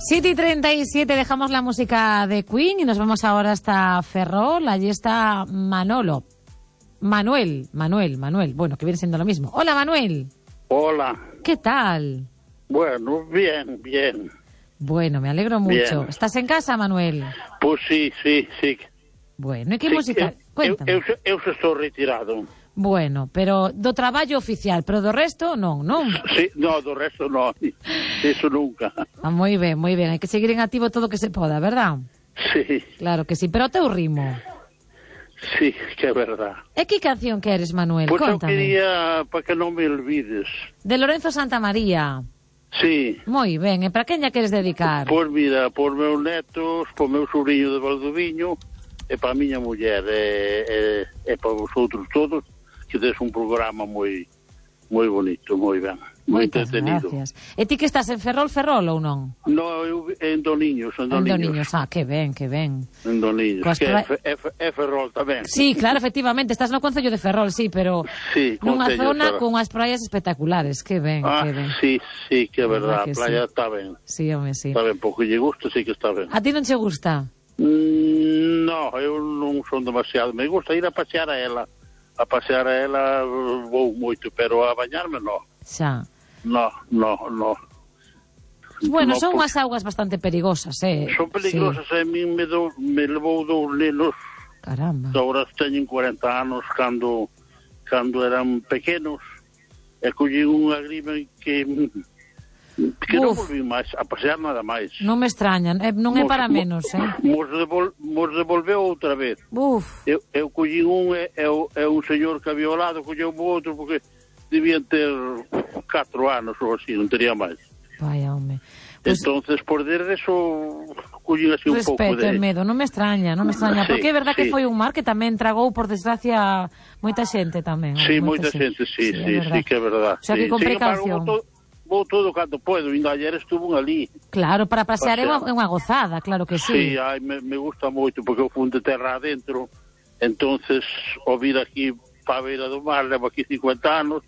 7:37, dejamos la música de Queen y nos vamos ahora hasta Ferrol. Allí está Manuel, bueno, que viene siendo lo mismo. Hola, Manuel. Hola. ¿Qué tal? Bueno, bien. Bueno, me alegro mucho. Bien. ¿Estás en casa, Manuel? Pois sí. Bueno, e que música? Cuéntame. Eu estou retirado. Bueno, pero do traballo oficial, pero do resto non. Sí, no, do resto non. Eso nunca. Ah, moi ben. Hai que seguir en activo todo o que se poda, verdad? Sí, Claro que sí, pero o teu ritmo. sí, que é verdad. E que canción queres, Manuel? Pois eu Contame. quería, para que non me olvides. De Lorenzo Santamaría. Sí. Moi ben, e para quen lla queres dedicar? Pois mira, por meus netos, por meu sobrinho de Valdoviño, e para a miña muller, e para vosotros todos, que des un programa moi bonito, moi ben, moi Moitas entretenido. gracias. E ti que estás en Ferrol ou non? No, eu en Doniños, En Doniños, que ben. En Doniños, Coas que pra- é Ferrol tamén. Sí, claro, efectivamente, estás no concello de Ferrol, sí, pero Sí, nunha concello de zona Ferrol. con as praias espectaculares, que ben. Sí, que é Verdad verdad, que a playa sí. está ben. Sí, home, sí. Está ben, porque lle gusta, sí que está ben. A ti non che gusta? No, eu non son demasiado. Me gusta ir a pasear a ela. A pasear a ela vou moito, pero a bañarme no. Xa. No. Bueno, No, son porque unhas augas bastante perigosas, son peligrosas, Sí. a min me levou dous nenos, Caramba. agora teñen 40 anos, cando eran pequenos, e collín unha grima que non volví máis a pasear nada máis. Non me extrañan, non é para menos, Mos devolveu outra vez. Uf, Eu collín un e un señor que había ao lado colleu o outro porque debían ter 4 anos ou así, non tería máis. vaya, home. Pues, Entonces, por desde eso, collín así un pouco respeto de... e medo, non me extraña, Sí, porque é verdad que sí. foi un mar que tamén tragou, por desgracia, moita xente tamén. Sí, moita xente, sí, que é verdad. O sea, que Sí. con Sin embargo, precaución. vou todo cando podo, ainda ayer estuvo ali. Claro, para pasear é Pasear. unha gozada, claro que Sí, sí. me gusta moito, porque eu fun de terra adentro, entonces, o vir aquí para a beira do mar, levo aquí 50 anos,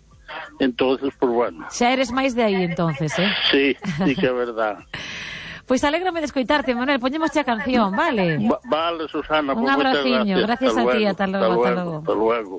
entonces, pues bueno. Xa eres máis de aí, entonces, Sí, que é verdad. Pois alégrame de escoitarte, Manuel, poñemos a canción, vale? Vale, Susana, Un pues moitas abraciño, gracias a ti, luego, ata logo. Hasta luego.